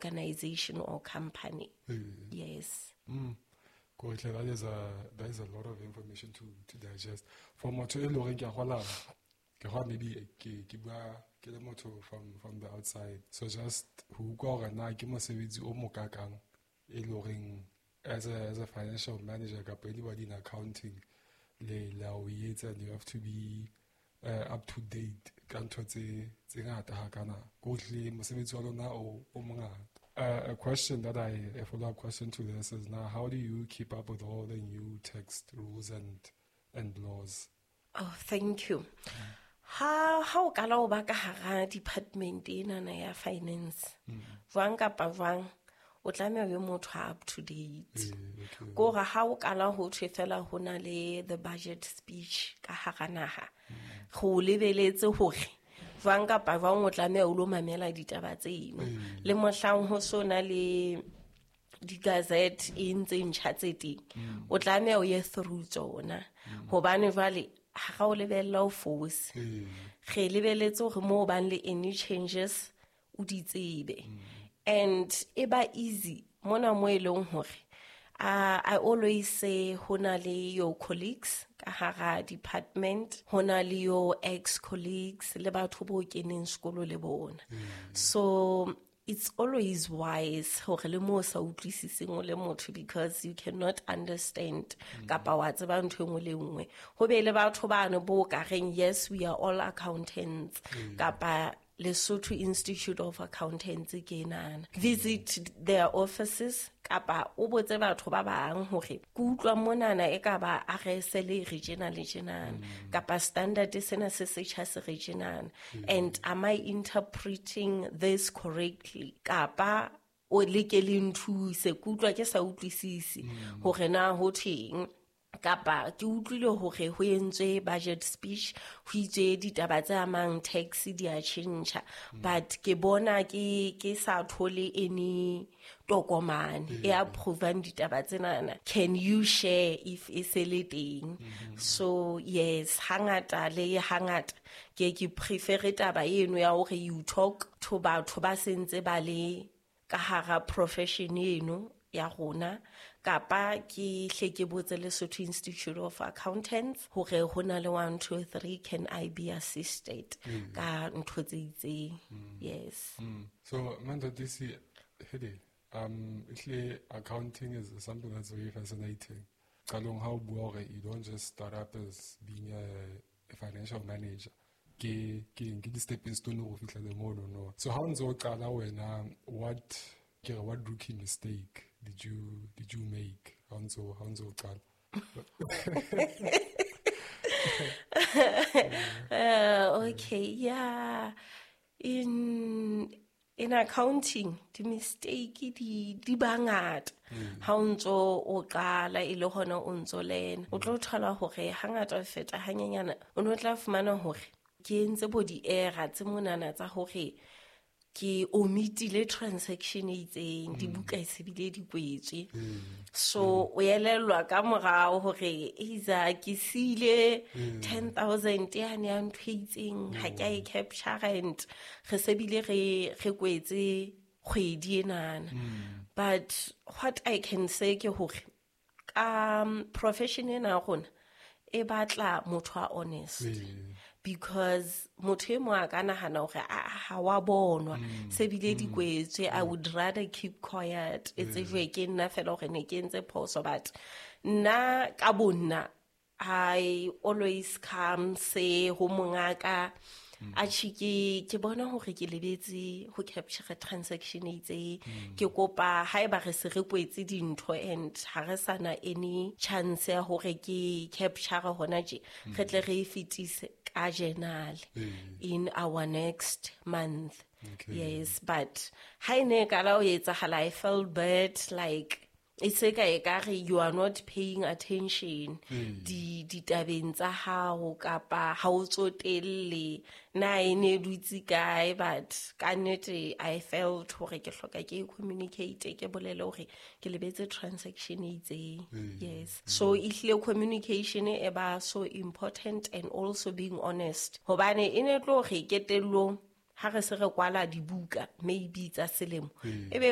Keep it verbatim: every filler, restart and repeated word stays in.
organization or company. Ee. Yes. Mm. Ko hle, that is a, that is a lot of information to, to digest. For motho e leng hore ke a kgola, ke kgola maybe ke, ke bua ke le motho from, from the outside. So just ho utlwa hore na ke mosebetsi o mokakang e leng horeng as a, as a financial manager kapa anybody in accounting le la o etsa, and you have to be, uh, up to date ka ntho tse, tse ngata hakana. Ko hle mosebetsi wa lona o, o mongata. Uh, a question that I, a follow-up question to this is now, how do you keep up with all the new tax rules and, and laws? Oh, thank you. Ha, ha o kala o ba ka hara department enana ya finance, Mm. jwang kapa jwang, o tlameha o be motho a up to date. Mm, okay. Ke hore ha o kala ho thwe fela ho na le the budget speech ka hara naha, Mm. re o lebeletse hore jwang kapa jwang o tlameha o lo mamela ditaba tseno. Mm. Le mohlang ho so na le di-gazette e ntse ntjha tse teng, Mm. o tlameha o ye through tsona. Mm. Hobane jwale ha ra o lebella o fose. Mm. Re lebeletse hore moo bang le any changes o di tsebe. Mm. And e ba easy mona mo e leng hore, uh, I always say ho na le your colleagues ka hara department, ho na le your ex-colleagues le batho bo keneng sekolo le bona. Mm. So it's always wise hore le mo sa utlwisiseng o le motho, because you cannot understand Mm. kapa wa tseba ntho e nngwe le nngwe. Ho be le batho bano bo ka reng, yes, we are all accountants, Mm. kapa Lesotho Institute of Accountants ke enana. Visit their offices kapa o botse batho ba bang hore ke utlwa monana e ka ba R S L e re tjena le tjenana, Mm. kapa standard sena se setjha se re tjenana. Mm. And am I interpreting this correctly? Kapa o leke le nthuse, ke utlwa ke sa utlwisise Mm. hore na ho thweng. Kapa ke utlwile hore ho entswe budget speech, ho itswe ditaba tse amang tax di a tjhentjha, Mm. but ke bona ke, ke sa thole any tokomane Mm. e approvang ditaba tsenana. Can you share if e se le teng? Mm-hmm. So yes, hangata le hangata ke ke prefere taba eno ya hore you talk to batho ba sentse ba le ka hara profession eno ya rona, kapa ke hle ke botse Lesotho Institute of Accountants hore ho na le one, two, three, can I be assisted Mm. ka ntho tse itseng? Mm. Yes. Mm. So, Manthatisi, hele, um, ehlile accounting is something that's very fascinating. Qalong ha o bua hore you don't just start up as being a, a financial manager. Ke, ke, ke di-stepping stone ho fihla le mono, no. So ha o ntse o qala wena, what, ke re, what rookie mistake did you, did you make? Ha o ntso, ha o ntso o qala? Uh, okay, yeah. In, in accounting, di mistake di, di bangata. Mm. Ha o ntso o qala e le hona o ntso lena. O tlo thola hore hangata o feta hanyenyana, o no tla fumana hore ke entse bo di-error tse monana tsa hore ke omitile transaction e itseng, Mm. dibuka e se bile di kwetswe. Mm. So, o elellwa ka morao hore eiza ke siile Mm. ten thousand yane ya ntho e itseng, ha ke a e Mm. capture and re se bile re, re kwetse kgwedi enana. Mm. But what I can say ke hore ka, um, profession ena ya rona e batla motho a honest. Mm. Because motho e mong a ka nahana hore, a, ha wa bonwa, Mm. se bile di Mm. kwetswe, I Mm. would rather keep quiet. E Mm. tsejwe ke nna fela hore ne ke entse phoso, but nna ka bo nna, I always come say ho mongaka, Mm. atjhe, ke, ke bona hore ke lebetse ho capture transaction e itseng. Mm. Ke kopa haeba re se re kwetse dintho and ha re sa na any chance ya hore ke capture hona tje, Mm. re tle re e fetise ka journal Mm. in our next month. Okay. Yes, but ha e ne e kala ho etsahala, I felt bad, like e se ka ekare you are not paying attention Mm. di ditabeng tsa hao kapa ha o tsotelle na e ne dutse kae, but ka nnete I felt hore ke hloka ke communicate, ke bolele hore ke lebetse transaction e itseng. Mm. Yes. So ehlile communication e ba so important and also being honest, hobane e ne tlo re ketellong Ha re se re kwala dibuka maybe tsa selemo, Ee. ebe